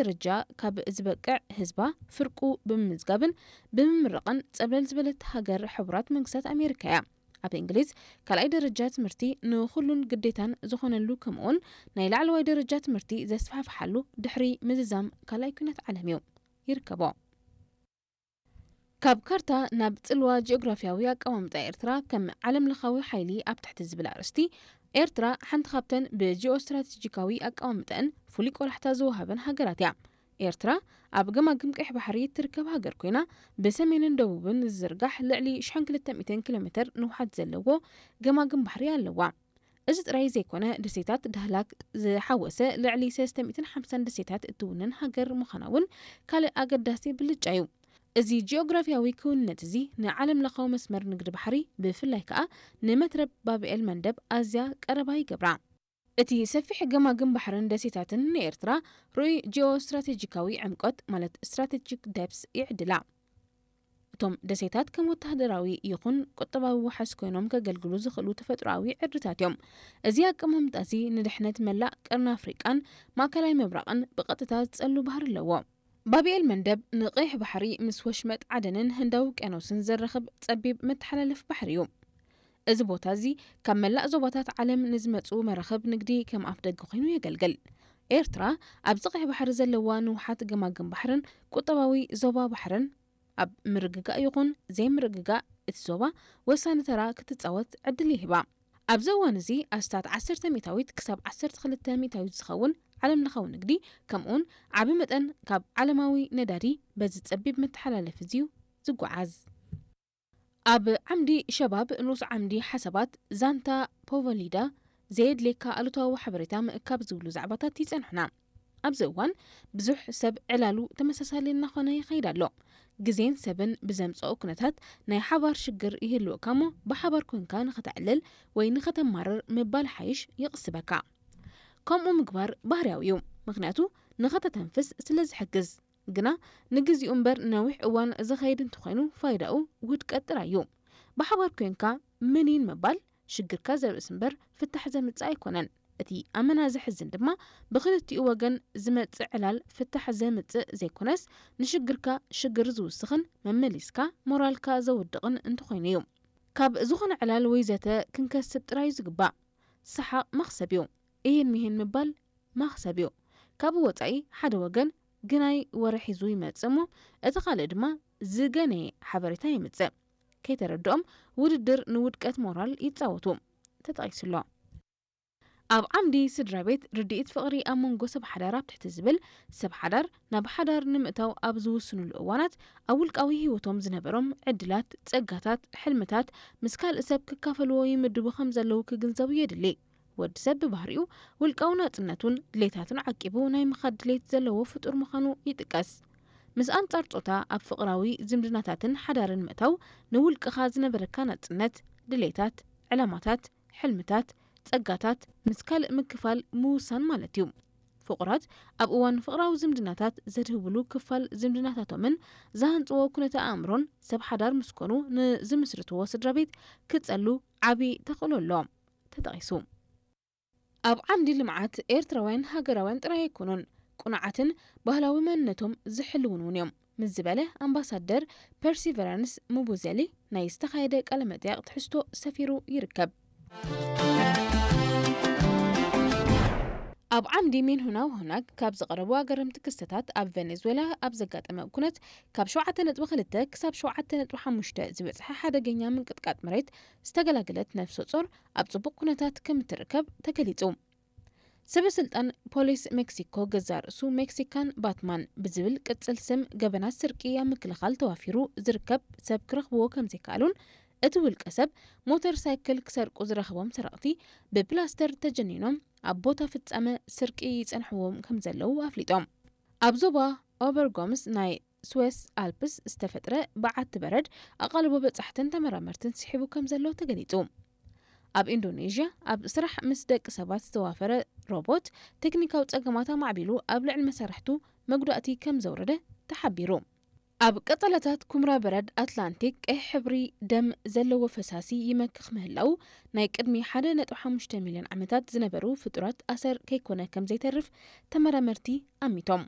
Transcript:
ደረጃ ካብ ዝበቅዕ ህዝባ ፍርቁ ብምምዝጋብን ብምምራቕን ጸብለል ዝበለት ሃገር ሕቡራት መንግስታት ኣሜሪካ እያ። ኣብ እንግሊዝ ካልኣይ ደረጃ ትምህርቲ ንኹሉን ግዴታን ዝኾነሉ፣ ከምኡውን ናይ ላዕለዋይ ደረጃ ትምህርቲ ዘስፋሕፍሓሉ ድሕሪ ምዝዛም ካልኣይ ኲናት ዓለም እዩ። ይርከቦ። ካብ ካርታ ናብ ጽልዋ ጂኦግራፊያዊ ኣቀማምጣ ኤርትራ ከም ዓለም ለኻዊ ሓይሊ ኣብ ትሕቲ ዝብል ኣርእስቲ፣ ኤርትራ ሓንቲ ካብተን ብጂኦ ስትራቴጂካዊ ኣቀማምጠን ፍሉይ ቆላሕታ ዝወሃበን ሃገራት እያ። ኤርትራ ኣብ ገማግም ቀይሕ ባሕሪ እትርከብ ሃገር ኮይና፣ ብሰሜንን ደቡብን ዝዝርጋሕ ልዕሊ ሽሕን ክልተ ሚእትን ኪሎ ሜትር ንውሓት ዘለዎ ገማግም ባሕሪ ኣለዋ። እዚ ጥራይ ዘይኮነ፣ ደሴታት ዳህላክ ዝሓወሰ ልዕሊ ሰለስተ ሚእትን ሓምሳን ደሴታት እትውንን ሃገር ምዃና እውን ካልእ ኣገዳሲ ብልጫ እዩ። እዚ ጂኦግራፊያዊ ክውንነት እዚ ንዓለም ለኻዊ መስመር ንግዲ ባሕሪ፣ ብፍላይ ከኣ ንመትረብ ባብኤል መንደብ ኣዝያ ቀረባ ይገብራ። እቲ ሰፊሕ ገማግም ባሕርን ደሴታትን ንኤርትራ ርኡይ ጂኦ ስትራቴጂካዊ ዕምቆት፣ ማለት ስትራቴጂክ ደፕስ፣ ይዕድላ። እቶም ደሴታት ከም ወተሃደራዊ ይኹን ቁጠባዊ ዋሕስ ኮይኖም ከገልግሉ ዝኽእሉ ተፈጥሮኣዊ ዕርድታት እዮም። እዚ ኣቀማምጣ እዚ ንድሕነት መላእ ቀርኒ ኣፍሪቃን ማእከላይ ምብራቕን ብቐጥታ ዝጸሉ ባህሪ ኣለዎ። ባብኤል መንደብ ንቐይሕ ባሕሪ ምስ ወሽመጥ ዓደንን ህንዳዊ ውቅያኖስን ዘራኽብ ጸቢብ መተሓላለፊ ባሕሪ እዩ። እዚ ቦታ እዚ ካብ መላእ ዞባታት ዓለም ንዝመጹ መራኽብ ንግዲ ከም ኣፍደገ ኮይኑ የገልግል። ኤርትራ ኣብዚ ቀይሕ ባሕሪ ዘለዋ ንውሓት ገማግም ባሕርን ቁጠባዊ ዞባ ባሕርን ኣብ ምርግጋእ ይኹን ዘይምርግጋእ እቲ ዞባ ወሳኒ ተራ ክትጻወት ዕድል ይህባ። ኣብዚ እዋን እዚ ኣስታት ዓሰርተ ሚእታዊት ክሳብ ዓሰርተ ክልተ ሚእታዊት ዝኸውን ዓለም ለኻዊ ንግዲ፣ ከምኡውን ዓቢ መጠን ካብ ዓለማዊ ነዳዲ በዚ ጸቢብ መተሓላለፊ እዚ እዩ ዝጓዓዝ። ኣብ ዓምዲ ሸባብ ንኡስ ዓምዲ ሓሳባት ዛንታ ፖቮሊዳ ዘየድልየካ ኣሉታዊ ሓበሬታ ምእካብ ዝብሉ ዛዕባታት ይጸንሑና። ኣብዚ እዋን ብዙሕ ሰብ ዕላሉ ተመሳሳሊ እናኾነ ይኸይድ ኣሎ። ግዜን ሰብን ብዘምጽኦ ኩነታት ናይ ሓባር ሽግር ይህልወካ እሞ ብሓባር ኮንካ ንኸተዕልል ወይ ንኸተማርር ምባል ሓይሽ ይቕስበካ። ከምኡ ምግባር ባህርያዊ እዩ፣ ምኽንያቱ ንኸተተንፍስ ስለ ዝሕግዝ። ግና ንግዚኡ እምበር ነዊሕ እዋን ዝኸይድ እንተኾይኑ ፋይዳኡ ውድቀት ጥራይ እዩ። ብሓባር ኮንካ ምኒን ምባል ሽግርካ ዘብእስ እምበር ፍታሕ ዘምጽእ ኣይኮነን። እቲ ኣመና ዘሕዝን ድማ ብኽልቲኡ ወገን ዝመጽእ ዕላል ፍታሕ ዘምጽእ ዘይኮነስ ንሽግርካ ሽግር ዝውስኽን መመሊስካ ሞራልካ ዘውድቕን እንተኾይኑ እዩ። ካብ ዝኾነ ዕላል ወይ ዘተ ክንከስብ ጥራይ እዩ ዝግባእ። ሰሓቕ መኽሰብ እዩ። እሂን ምሂን ምባል መኽሰብ እዩ። ካብኡ ወጻኢ ሓደ ወገን ግናይ ወረ ሒዙ ይመጽእ እሞ እቲ ካልእ ድማ ዝገነየ ሓበሬታ የምጽእ። ከይተረድኦም ውድድር ንውድቀት ሞራል ይጻወቱ። ተጠቒሱ ኣሎ። ኣብ ዓምዲ ስድራ ቤት ርድኢት ፍቕሪ ኣብ መንጎ ሰብ ሓዳር ኣብ ትሕቲ ዝብል፣ ሰብ ሓዳር ናብ ሓዳር ንምእታው ኣብ ዝውስኑሉ እዋናት ኣብ ውልቃዊ ህይወቶም ዝነበሮም ዕድላት፣ ጸጋታት፣ ሕልምታት ምስ ካልእ ሰብ ክካፈልዎ ይምድቡ ከም ዘለዉ ክግንዘቡ የድሊ። ወዲ ሰብ ብባህሪኡ ውልቃዊ ናጽነቱን ድሌታቱን ዓቂቡ ናይ ምኻድ ድሌት ዘለዎ ፍጡር ምዃኑ ይጥቀስ። ምስ ኣንጻር ጾታ ኣብ ፍቕራዊ ዝምድናታትን ሓዳርን ምእታው ንውልቅኻ ዝነበረካ ናጽነት፣ ድሌታት፣ ዕላማታት፣ ሕልምታት፣ ጸጋታት ምስ ካልእ ምክፋል ምውሳን ማለት እዩ። ፍቑራት ኣብ እዋን ፍቕራዊ ዝምድናታት ዘድህብሉ ክፋል ዝምድናታቶምን ዝሃንጽዎ ኩነተ ኣእምሮን ሰብ ሓዳር ምስ ኮኑ ንዝምስርትዎ ስድራ ቤት ክጸሉ ዓቢ ተኽእሎ ኣሎ። ተጠቒሱ። ኣብ ዓምዲ ልምዓት ኤርትራውያን ሃገራውያን ጥራይ ኣይኮኑን፣ ቅኑዓትን ባህላዊ መንነቶም ዝሕልዉን እውን እዮም ምስ ዝበለ ኣምባሳደር ፐርሲቨራንስ ሙቡዘሊ ናይ ዝተኻየደ ቃለ መጠይቕ ትሕዝቶ ሰፊሩ ይርከብ። ኣብ ዓምዲ ሜንሁና ወሁናግ ካብ ዝቐረቡ ኣገረምቲ ክስተታት፣ ኣብ ቬኔዙዌላ ኣብ ዘጋጠመ ኩነት ካብ ሸውዓተ ነጥቢ ክልተ ክሳብ ሸውዓተ ነጥቢ ሓሙሽተ ዝበጽሐ ሓደገኛ ምንቅጥቃጥ መሬት ዝተገላገለት ነፍሰ ጾር ኣብ ጽቡቕ ኩነታት ከም እትርከብ ተገሊጹ። ሰበ ስልጣን ፖሊስ ሜክሲኮ፣ ገዛእ ርእሱ ሜክሲካን ባትማን ብዝብል ቅጽል ስም ገበናት ስርቂ ኣብ ምክልኻል ተዋፊሩ ዝርከብ ሰብ ክረኽብዎ ከም ዘይከኣሉን እቲ ውልቀ ሰብ ሞተር ሳይክል ክሰርቁ ዝረኸቦም ሰረቕቲ ብፕላስተር ተጀኒኖም ኣብ ቦታ ፍጻመ ስርቂ ይጸንሕዎም ከም ዘለዉ ኣፍሊጦም። ኣብ ዞባ ኦበርጎምስ ናይ ስዌስ ኣልፕስ ዝተፈጥረ በዓቲ በረድ ኣቓልቦ በጻሕትን ተመራመርትን ስሒቡ ከም ዘሎ ተገሊጹ። ኣብ ኢንዶኔዥያ ኣብ ስራሕ ምስ ደቂ ሰባት ዝተዋፈረ ሮቦት ቴክኒካዊ ጸገማት ኣማዕቢሉ ኣብ ልዕሊ መሳርሕቱ መጉዳእቲ ከም ዘውረደ ተሓቢሩ። ኣብ ቀጸላታት ኩምራ በረድ ኣትላንቲክ ቀይሕ ሕብሪ ደም ዘለዎ ፈሳሲ ይመክኽ ምህላው ናይ ቅድሚ ሓደ ነጥቢ ሓሙሽተ ሚልዮን ዓመታት ዝነበሩ ፍጡራት ኣሰር ከይኮነ ከም ዘይተርፍ ተመራመርቲ ኣሚቶም።